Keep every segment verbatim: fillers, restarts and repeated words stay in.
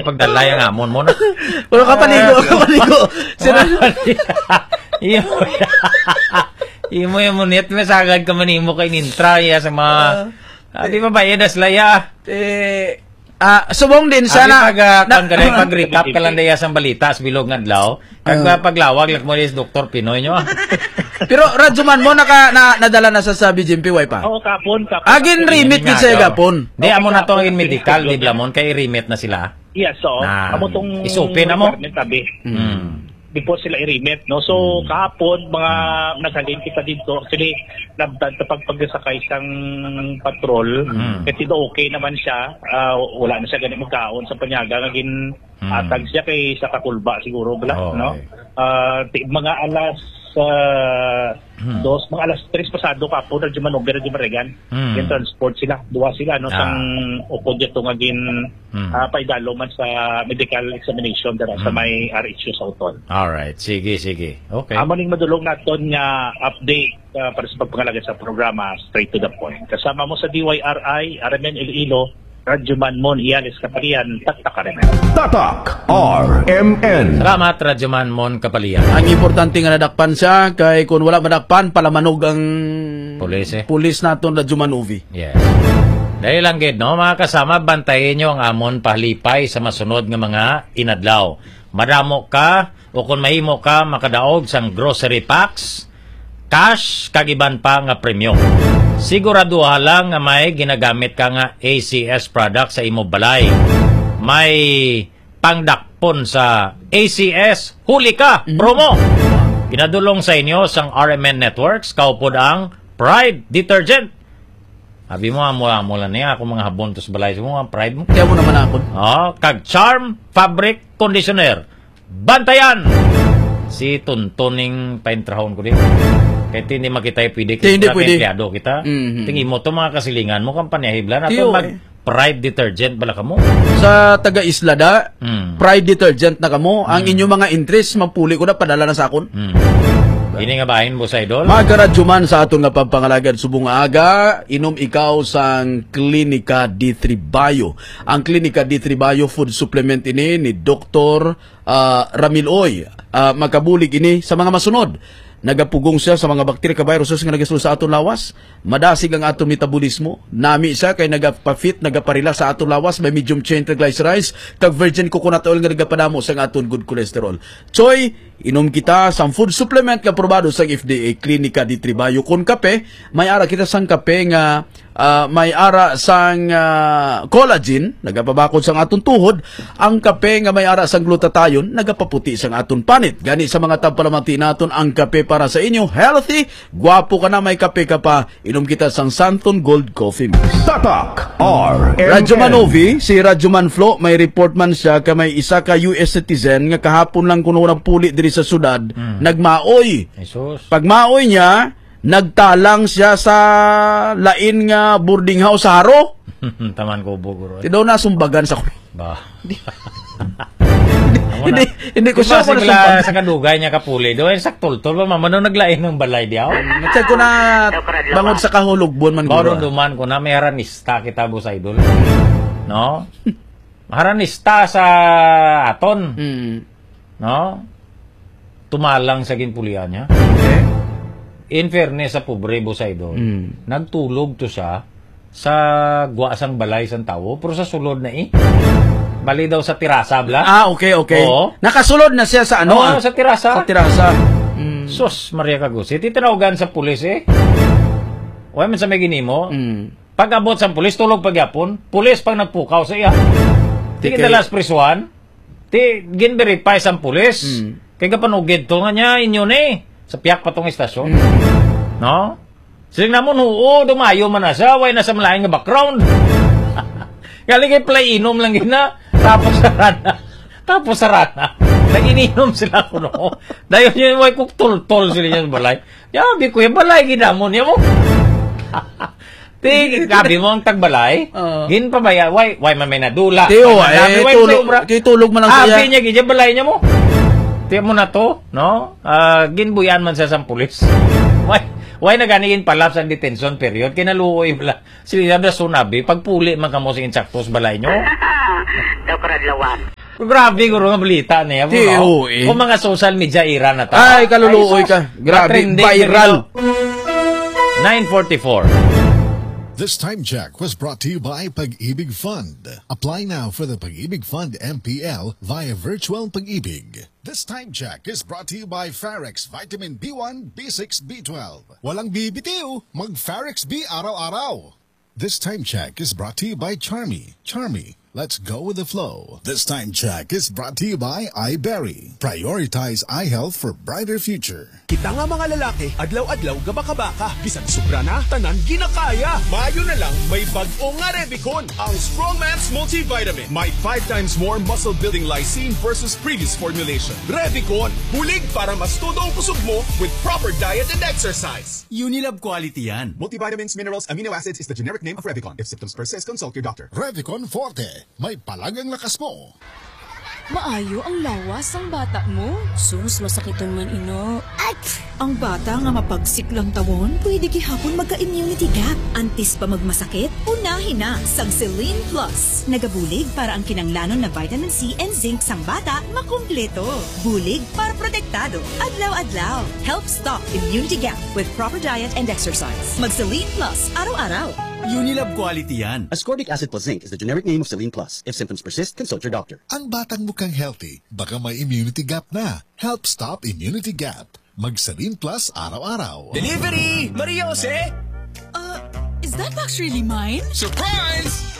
Pagdalay ang amon mo na. Pero kapaligo, kapaligo. Sira- Imo, imo yung munit, may sagad ka manimo kay nintra, iya, sa mga, Ah. Abi ba, bayad as laya? Eh, ah, subong din Abi sana, pag, ah, na- pag, pag recap ka lang daya sang balita sa bilog nga adlaw, kag, Ah. ah, paglawag, like mo is Doktor Pinoy nyo, ah. Pero, Radyo Man mo, naka-, na-, nadala na sa, sa B G M P Y pa? Oo, kapon, kapon. Agin remit gid sa Nga, gapon. Di, amo na to ang medical, di blamon, kay remit na sila. Yes, oo. Na, Amo tong is open na mo? Requirement, sabi. Mm. Before sila i-remit, no? So, Mm. kahapon, mga Mm. naghalin kita dito. Actually, nabtan sa pagpagsakay sang patrol. Mm. Kasi do okay naman siya. Ah, wala na siya gani magkaon sa panyaga. Nga gin-, Mm. atag siya kay sa kakulba siguro, bala, Oh, no? okay. Ah, ti-, mga alas, ah, Hmm. dos, mga alas tres pasado kapon, Radyo Manover, Radyo Marigan. Hmm. Gin-transport sila, duha sila, no, Ah. sang ukod dito nga gin-, Hmm. ah, paidalo man sa medical examination dira sa Hmm. may R H U sa Uton. Alright. Sige, sige. Okay. Amo ning madulong naton nga update, ah, para sa pagpangalagad sa programa, straight to the point. Kasama mo sa D Y R I, R M N Iloilo, Radyo Man Mon Iales Kapalian, Tatak R M N. Tatak R M N. Salamat, Radyo Man Mon Kapalian. Ang importante nga nadakpan siya, kay kung wala madakpan, palamanog ang Pulis, eh. pulis naton, Radyo Man Uvi. Yes. Dali lang gid, no? Mga kasama, bantayin nyo ang amon pahalipay sa masunod nga mga inadlaw. Madamo ka, o kung mahimo ka, makadaog sang grocery packs, cash, kag iban pa nga premyo. Siguraduha lang nga may ginagamit ka nga A C S product sa imo balay. May pangdakpon sa A C S Huli Ka Mhm. promo. Ginadulong sa inyo sang R M N Networks, kaupod ang Pride Detergent. Abi mo, amo, amo lang niya, ako mga habon to sa balay mo, ang Pride mo. Kaya mo naman ako. Oh, kag Charm Fabric Conditioner. Bantayan! Si Tonton ning paintrahon ko din. Kaya hindi makita yung pwede Kaya hindi kita, pwede. Empleyado kita. Mhm. Tingin mo to, mga kasilingan mo, kampanya hibla na Tiyo, to, mag eh. Pride detergent bala kamo. Sa taga-isla da, Mm. Pride detergent na kamo. Ang Mm. inyong mga entries, magpuli ko na, padala na sa akon. Mm. Ini nga bahin, Boss Idol? Mga karadyo man sa aton nga pagpangalagad subong nga aga, inom ikaw sang Klinika D three Bio. Ang Klinika D three Bio food supplement ini ni Doktor ah, Ramil Oy, ah, makabulig ini sa mga masunod. Nagapugong siya sa mga bakterya kag viruses nga nagasulod sa aton lawas. Madasig ang aton metabolismo. Nami siya kay nagapafit, nagaparila sa aton lawas. May medium chain triglycerides kag virgin coconut oil nga nagapadamo sa aton good cholesterol. Choy, inom kita sang food supplement nga aprobado sang F D A, Klinika D three Bio. Kon kape, may ara kita sang kape nga ah, may ara sang, ah, collagen, nagapabakod sang aton tuhod. Ang kape nga may ara sang glutathione, nagapaputi sang aton panit. Gani sa mga tagpalamati naton, ang kape para sa inyo, healthy, gwapo ka na, may kape ka pa, inom kita sang Santon Gold Coffee Mix. Tatak R M N. Radyo Manovi, si Radyo Man Flo, may report man siya ka may isa ka U S citizen nga kahapon lang kuno nagpuli diri sa syudad, Hmm. nagmaoy. Jesus. Pagmaoy niya, nagtalang siya sa lain nga boarding house sa Jaro. Taman ko, Buguro, eh. Ti daw nasumbagan sa Ba. Di-, Amo na. hindi, hindi ko Di ba sure kung sila nasumbagan. Sa kadugay niya kapuli? Doon, saktultol ba? Mama, nung naglain ng balay di ako? Check ko na bangod sa kahulugbo man, Baro guro. Duman ko na, may haranista kita, Boss Idol. No? Haranista sa aton. Mm. No? Tumalang sa ginpulian niya. Okay. In fairness sa pobre, Boss Idol, Mm. nagtulog to siya sa gwa sang balay sang tawo, pero sa sulod na eh. Bali daw sa tirasa, bla? Ah, okay, okay. Oo. Nakasulod na siya sa ano, Oo, ah? sa tirasa. Sa tirasa. Mm. Sus, Maria Kagusi, titinawagan sa pulis eh. Wala man sa may ginimo. Mm. Pag-abot sa pulis, tulog pagyapon. Pulis pang nagpukaw sa iya. Sige, Tikay. Dalas prisuhan. Ti, gin-verify sang pulis. Mm. Kay kapanugid to nga niya, inyo ni. Sa piyak pa tong istasyon. Mm. No? Siling namon, oo, dumayo man na siya, way na sa malain nga background. Galing kay play inom lang gina. Tapos sa rana. Tapos sa rana. Nag-ininom sila kuno. Dayon yun, way kuk tultol sila niya sa balay. Yabi ko, yung balay ginamon niya mo. Ti, gabi mo ang tagbalay. Oo. Gin pa ba ya? Why, why man may nadula? Ti, Why oh, man eh, dami? Why tulog, sobra? Ti, tulog man lang Abi siya. Niya, gidya balay niya mo. Ti mo na to, no? Ah, ginbuyan man siya sa pulis. Why, why na gani ginpalap sa detention period? Kinaluoy bala. Sila na sunabi, pagpuli man kamo sa insakto sa balay nyo. Daw karadlawan. Grabe, guro, nga balita niya, Ti, bro. Oo, eh. Kung mga social media era na to. Ay, kaluluoy Ay, sus. ka. Grabe, Trending viral. Nine forty-four. This time check was brought to you by Pag-ibig Fund. Apply now for the Pag-ibig Fund M P L via Virtual Pag-ibig. This time check is brought to you by Farex Vitamin B one, B six, B twelve. Walang bibitiw, mag Farex B araw-araw. This time check is brought to you by Charmy. Charmy, let's go with the flow. This time check is brought to you by iBerry. Prioritize eye health for brighter future. Kita nga mga lalaki, adlaw-adlaw gabaka-baka. Bisan sobra na, tanan ginakaya. Maayo na lang may bag-o nga Revicon, ang Strongman's Multivitamin. May five times more muscle-building lysine versus previous formulation. Revicon, bulig para mas todo ang kusog mo with proper diet and exercise. Unilab quality yan. Multivitamins, minerals, amino acids is the generic name of Revicon. If symptoms persist, consult your doctor. Revicon Forte, may palagang lakas mo. Maayo ang lawas sang bata mo. Sus, masakiton man ina. Ay! Ang bata nga mapagsik lantawon, pwede gihapon magka-immunity gap. Antes pa magmasakit, unahi na sang Celine Plus. Nagabulig para ang kinanglanon na vitamin C and zinc sang bata makumpleto. Bulig para protektado adlaw-adlaw. Help stop immunity gap with proper diet and exercise. Mag Celine Plus araw-araw. Unilab quality yan. Ascorbic acid plus zinc is the generic name of Celine Plus. If symptoms persist, consult your doctor. Ang batang mukhang healthy, baka may immunity gap na. Help stop immunity gap. Mag Celine Plus araw-araw. Delivery! Maria Jose! Uh, is that box really mine? Surprise!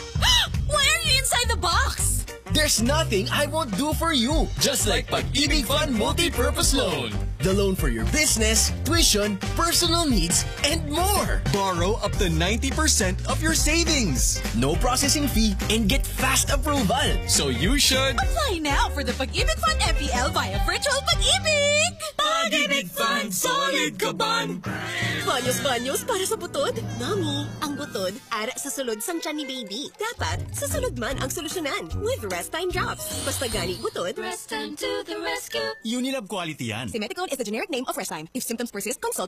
Why are you inside the box? There's nothing I won't do for you. Just like Pag-ibig Fund Multi-Purpose Loan. The loan for your business, tuition, personal needs, and more. Borrow up to ninety percent of your savings. No processing fee and get fast approval. So you should. Apply now for the Pag-ibig Fund M P L via Virtual Pag-ibig! Pag-ibig Fund, solid kaban! Banyos-banyos para sa butod. Nami, ang butod, ara sa sulod sang tiyan ni baby. Dapat, sa sulod man ang solusyonan with Rest Time Drops. Basta gani butod, Rest Time to the rescue. Unilab quality yan. Simeticone is the generic name of Rest Time. If symptoms persist, consult your